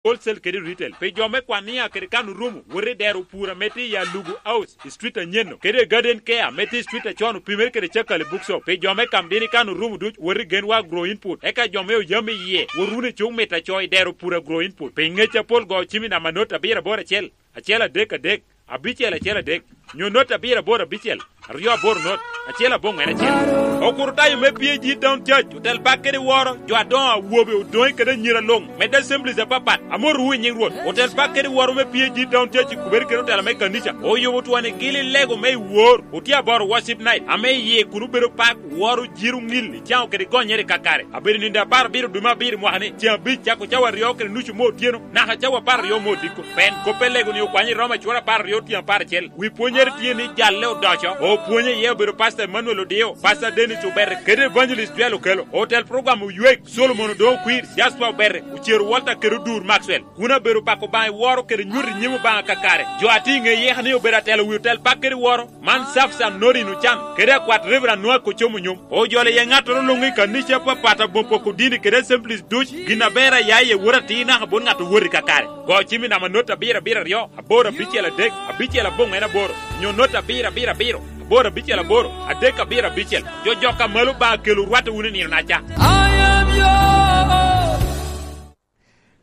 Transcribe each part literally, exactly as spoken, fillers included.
wholesale kede retail. Pi jo me Kwania kede kan orumo, wot i dero pur ame tye i Alugu House, i street anyen-nu, kede i Garden Care ame tye i street acon, opimere kede Cakali Bookshop. Pi jo me Kamdini, kan orumo duc, wot i Genwa Agro Input. Eka jo me Oyam iye, wot wunu i Cuk Mita Co i dero pur Agro Input. Pi ngec apol, go cim i namba not abiro aboro acel, acel adek adek, abicel acel adek, nyo not abiro aboro abicel, aryo aboro not, acel aboŋwen acel. Okurutayo me P A G Town Church otel bak kede woro jo adoŋo, awobe, odoŋe kede anyira luŋ, medde assemblies apapat. Amotowu i nyiŋ Rwot. Otel bak kede woro me P A G Town Church i kubere kede otela me kanica oyubo twoni gili lego me i wor. Otye aboro worship night ame iye kun obedo pak, woro, jiro, ŋil, icaŋo kede gonyere kakare. Abedo nindo apar abiro dwe me abiro mwaka ni, ceŋ abic cako cawa aryo kede nucu me otyeno naka cawa apar aryo me odiko. Pen kop pe lego ni okwanyo i Roma cura apar aryo tyen apar acel. Wi pwonyere tye ni Jalle Odoco, opwonye iye obedo Pastor Emmanuel Odio, Pastor Dennis Obere, kede Evangelist Joel Okelo. Otel program Oywek, Solomon Odoŋo Kwir, Jasper Obere, Ocero Walter kede Odur Maxwell. Kun abedo pako Obaŋa i woro kede nyuto i nyim Obaŋa kakare. Jo a tye i ŋe yeka ni obedo atelo wi otel bak kede woro, man Safsan Norin Ocan, kede akwat Reverend Noah Kocom Onyom. Ojolo iye ŋattoro luŋ i kanica apapat, aboŋo poko dini kede assemblies duc, gin aber a ya iye wot atir naka bot ŋat owot i kakare. Go cim i namba not abiro abiro aryo, aboro abicel adek, abicel aboŋwen aboro, nyo not abiro abiro abiro, aboro abicel aboro, adek abiro abicel. Jo jok a malo Obaŋa kelo rwatte wunu i nino-naca. I am yours.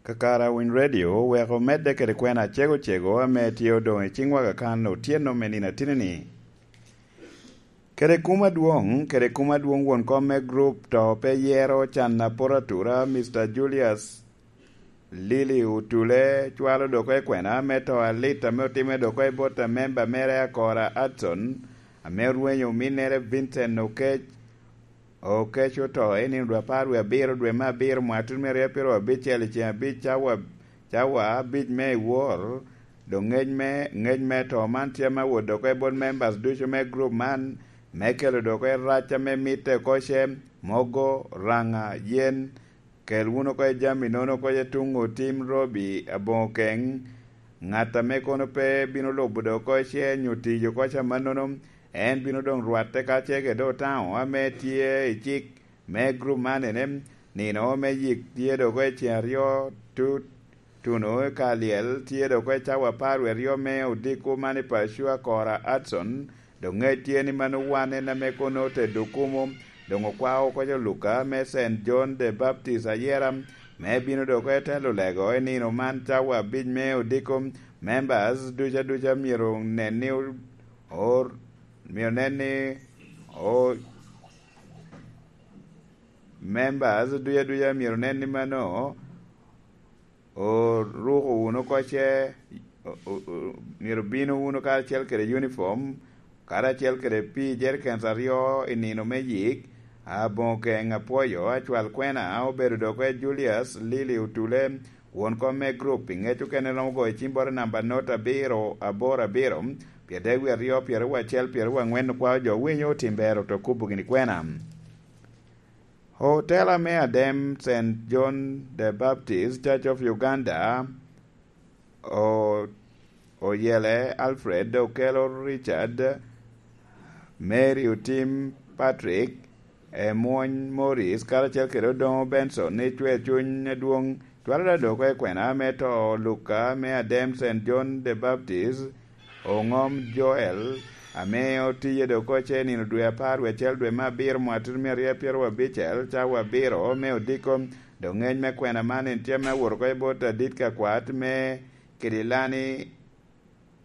Kakare Winy Radio oweko medde kede kwena acego cego ame tye odoŋ i ciŋwa kakan otyeno me nino atini-ni. Kede kum adwoŋ, kede kum adwoŋ won kom me grup to pe yero can apot atura, Mister Julius Lili Otule cwalo dok i kwena me to alit ame otimme dok i bot a memba mere Akora Adson, ame orwenyo ominnere Vincent Okec, Okec oto i nino dwe apar wie abiro dwe me abiro mwaka tun me ryo pyero abicel i ceŋ abic cawa, cawa abic me i wor. Doŋ ngec me, ngec me to man tye me wot dok i bot members ducu me group man, me kelo dok i rac ame mitte oko ce, mogo, raŋa, yen, kel wunu oko i jami nono oko i tuŋ otim Robi aboŋo keŋ. Ŋat ame kono pe bino lubo dok oko ce nyo tiyo oko ca mannono, en bino doŋ rwatte ka ce kede otaŋo ame tye i cik me group man ene, nino me yik tye dok oko i ceŋ aryo tut, tuno ka lyel tye dok oko i cawa apar wie aryo me odiko man i Pacua Kora Adson, Doŋ ŋec tye ni mano wan en ame kono otedo okumo, doŋ okwao oko jo Luka me Saint John the Baptist ayera, me bino dok oko i telo lego i nino man cawa abic me odiko. Members ducu aduca myero nen ni o-, or-, myero nen ni o-, members ducu aduca myero nen ni mano oruko wunu kocce, o-, o-, o-, myero bino wunu karacel kede uniform, karacel kede pii jerikens aryo i nino me yik, aboŋo keŋ apwoyo, acwal kwena obedo dok i Julius Lili Otule, won kom me group, i ŋec okene romo goyo cim bot i namba not abiro aboro abiro, pye dek wie aryo, pyeraryo acel, pyeraryo angwen, okwao jo winyo otim bero to kubo gini kwena. Otela me Adem Saint John the Baptist Church of Uganda, o-, Oyele Alfred, Okelo Richard, Mary Otim Patrick, Emwony Morris, karacel kede Odoŋo Benson, ni cwer cuny adwoŋ, cwalo dok oko i kwena me to Luka me Adem Saint John the Baptist, Oŋom Joel, ame otiye dok oko ce nino dwe apar wie acel dwe me abiro mwaka tito mia aryo pyeraryo abicel, cawa abiro me odiko. Doŋ ŋec me kwena man en tye me awot oko i bot adit kakwat me Kidilani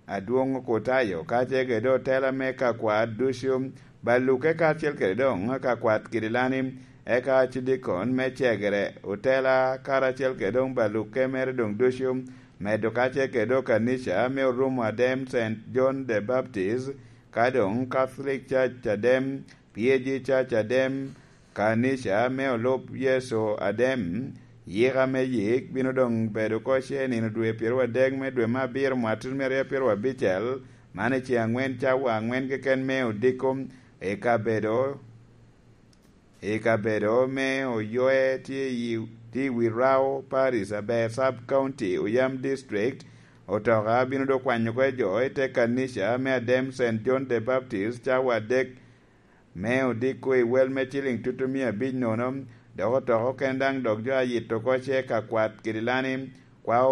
Adwoŋ Okutayo, ka ce kede otela me kakwat ducu, baluke karacel kede doŋ kakwat Kidilani, eka cidikon me cegere, otela karacel kede doŋ baluke mere doŋ ducu, medo ka ce kede okanica me Orumo Adem Saint John the Baptist, ka doŋ Catholic Church Adem, P A G Church Adem, kanica me Olub Yecu Adem. Yika me yik bino doŋ bedo oko ce nino dwe pyeraryo adek me dwe me abiro mwaka tito mia aryo pyeraryo abicel, man i ceŋ angwen cawa angwen keken me odiko, i kabedo I kabedo me Oyoe tye i, tye i wi Rao Parish, aber Sub County, Oyam District. Otoka bino dok kwanyo oko jo i te kanica me Adem Saint John the Baptist cawa adek me odiko i wel me ciling tutu mia abic nono, dok otoka okene daŋ dok jo ayito oko ce kakwat Kidilani Kwao